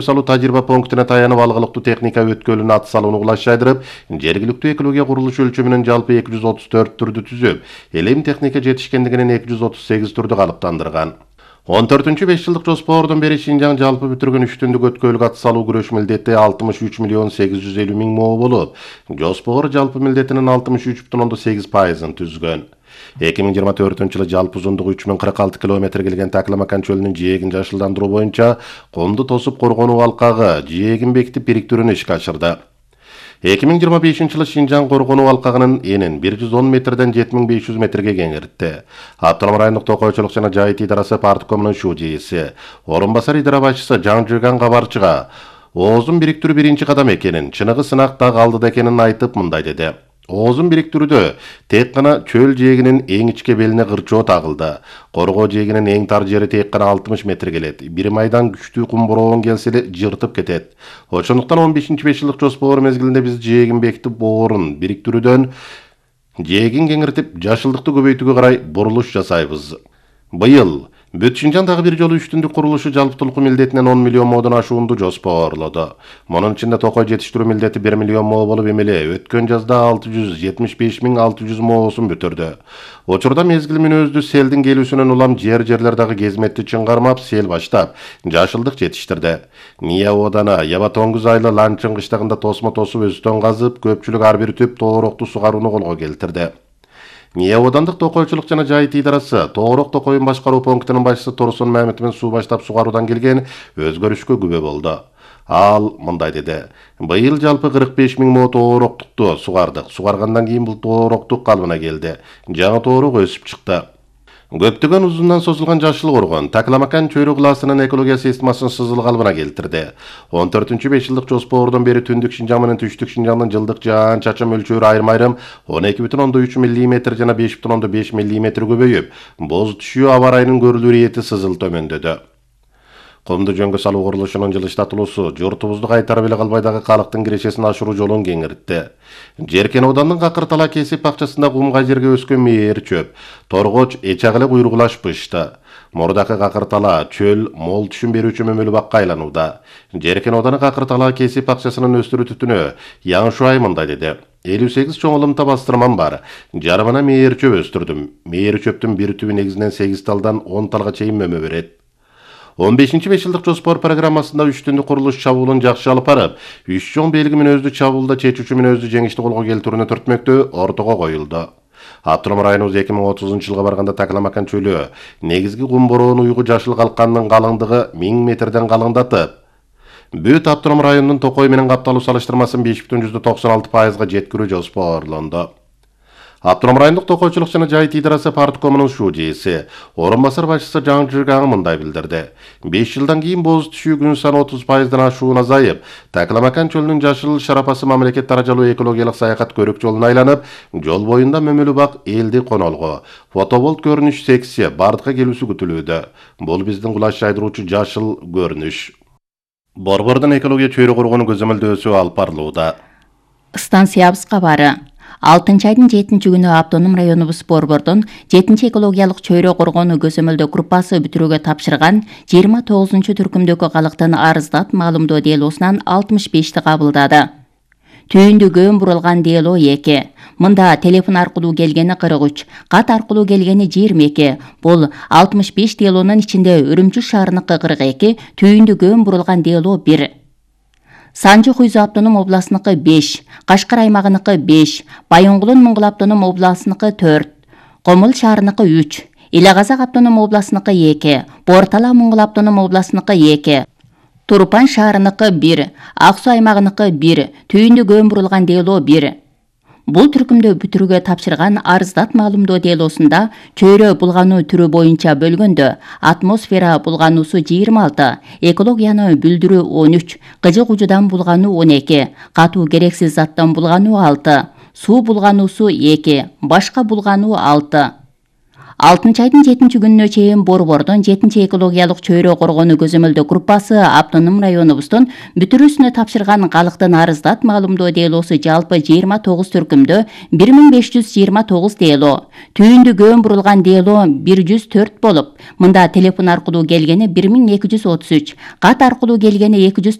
салуу тажрыйба пунктуна таянып алгылыктуу техника өткөлүнүн аты салууну кулашайдырып, жергиликтүү экология курулушу өлчөмүнөн жалпы 234 түрдү түзүп, элем техника жетишкендигинен 238 түрдү калыптандырган. 14-5 жылдык жоспордон бери Шинжаң жалпы бүтүргөн 3 түндүк өткөлгө ат салуу күрөш милдети 63 миллион 850 миң мо болуп, жоспор жалпы милдетинин 63,8%-ын түзгөн. 2024 жалпы узундугу 3046 км келген Такламакан чөлүнүн жээгин жашылдандыруу боюнча комду тосуп коргонуу алкагы жээгин бекитип бириктирүүнү ишке ашырды. 2025 жылы Шинжаң коргонуу алкагынын энин 110 метрден 7500 метрге кеңейтти. Автоном райондук токойчулук жана жайыт идарасы парткомунун ШУЖИСи, орун басар идара башчысы Жаңжыган кабарчыга оозун бириктирүү биринчи кадам экенин, чыныгы сынак дагы алдыда экенин айтып мындай деди. Оозун бириктирүүдө тек гана чөл жээгинин эң ичке белине кырчоо тагылды. Коргоо жээгинин эң тар жери тек гана 60 метр келет. Бир майдан күчтүү кум бороон келсе эле жыртып кетет. Ошондуктан 15-5 жылдык жоспор мезгилинде биз жээгин бекитип боорун бириктирүүдөн жээгин кеңиртип жашылдыкты көбөйтүүгө карай бурулуш жасайбыз. Быйыл Бүт Шинжаң дагы бир жолу 3 түндүк курулушу жалпытуулуку милдетинен 10 миллион модон ашуунду жоспорлоду. Мунун ичинде токой жетиштирүү милдети 1 миллион мо болуп эмеле өткөн жазда 675.600 моосун бүтүрдү. Учурда мезгил мүнөздүү селдин келүүсүнөн улам жерлер дагы кезметти чыңгармап, сел баштап, жашылдык жетиштирди. Ния оодана Ябатоңгуз айлы Ланчын кыштагында тосмо тосуп өстөн казып, көпчүлүк ар бир түп тоорокту сугарууну колго келтирди. Ния оодандык токойчулук жана жайыт идарасы Тоорок токойун башкаруу пунктунун башчысы Турсун Мамитовдун суу баштап сугаруудан келген өзгөрүшкө күбө болду. Ал мындай деди: "Быйыл жалпы 45 миң мо тоороктукту сугардык. Сугаргандан кийин бул тоороктук калыбына келди. Жаңы тоорок өсүп чыкты." Көптөгөн узундан созулган жашыл коргон Такламакан чөйрө классынын экология системасын сызыл калыбына келтирди. 14-5 жылдык жоспордон бери түндүк Шинжаң менен түштүк Шинжаңдын жылдык жаан-чачын мөлчөрү айрым-айрым 12,3 мм жана 5,5 мм көбөйүп, боз түшүү аба ырайынын көрүлүү ирети сызыл төмөндөдү. Комду жөнгө салуу курулушунун жылыштатылуусу журтубузду кайтарып эле калбай дагы калктын кирешесин ашыруу жолун кеңиртти. Жеркен оодандын Какыртала кесип бакчасында кумгай жерге өскөн мээр чөп, торгоч эчак эле куйругулашпышты. Мурдакы Какыртала чөл мол түшүм берүүчү мөмөлүү бакка айланууда. Жеркен ооданы Какыртала кесип бакчасынын өстүрүү түтүнө Яң Шуай мындай деди: 58 чоң ылымта бастырмам бар. Жарымына мээр чөп өстүрдүм. Мээр чөптүн бир түбү негизинен 8 талдан 10 талга чейин мөмө берет. 15-5 жылдык жоспор программасында 3 түндүк курулуш чабуулун жакшы алып барып, 3 чоң белги мүнөздүү чабуулда чечүүчү мүнөздүү жеңишти колго келтирүүнү түртмөктөө ортого коюлду. Автоном районубуз 2030 жылга барганда Такламакан чөлү негизги кум бороон уйгу жашыл калкандын калыңдыгы 1000 метрден калыңдатып, бүт автоном районунун токой менен капталуу салыштырмасын 5,96%га жеткирүү жоспорлонду. Автоном райондук токойчулук жана жайыт идарасы парткомунун ШУЖИСи, орун басар башчысы Жаңжыган мындай билдирди: 5 жылдан кийин боз түшүү күн саны 30%дан ашуун азайып, Такламакан чөлүнүн жашыл шарапасы мамлекет даражалуу экологиялык саякат көрүк жолуна айланып, жол боюнда мөмөлүү бак элди конолго, фотоболт көрүнүш секция бардыкка келүүсү күтүлүүдө. Бул биздин кулаш жайдыруучу жашыл көрүнүш. Борбордун экология чөйрө коргонуу көзөмөлдөөсү алып барылууда. Станциябыз кабары 6 айдын 7 күнү автоном районубуз Борбордон 7 экологиялык чөйрө коргонуу көзөмөлдөө группасы бүтүрүүгө тапшырган 29 түркүмдөгү калктын арыздат маалымдоо делосунан 65ти кабылдады. Түйүндү көн бурулган дело 2. Мында телефон аркылуу келгени 43, кат аркылуу келгени 22. Бул 65 делонун ичинде Үрүмчү шаарыныкы 42, түйүндү көн бурулган дело 1. Санжы Хуйзу автоном областыныкы 5, Кашкар аймагыныкы 5, Байоңгулун Муңгул автоном областыныкы 4, Комул шаарыныкы 3, Илагазак автоном областыныкы 2, Бортала Муңгул автоном областыныкы 2, Турпан шаарыныкы 1, Ак Суу аймагыныкы 1, түйүндү көн бурулган дело 1. Бул түркүмдө бүтүрүүгө тапшырган арыздат маалымдоо делосунда чөйрө булгануу түрү боюнча бөлгөндө атмосфера булгануусу 26, экологияны бүлдүрүү 13, кыжык ужудан булгануу 12, катуу керексиз заттан булгануу 6, суу булгануусу 2, башка булгануу 6. 6 айдын 7-күнүнө чейин Борбордун 7-экологиялык чөйрө коргонуу көзөмөлдөө группасы автоном районубуздун бүтүрүүсүнө тапшырган калктын арыздат маалымдоо делосу жалпы 29 түркүмдө 1529 дело, түйүндү көөн бурулган дело 104 болуп, мында телефон аркылуу келгени 1233, кат аркылуу келгени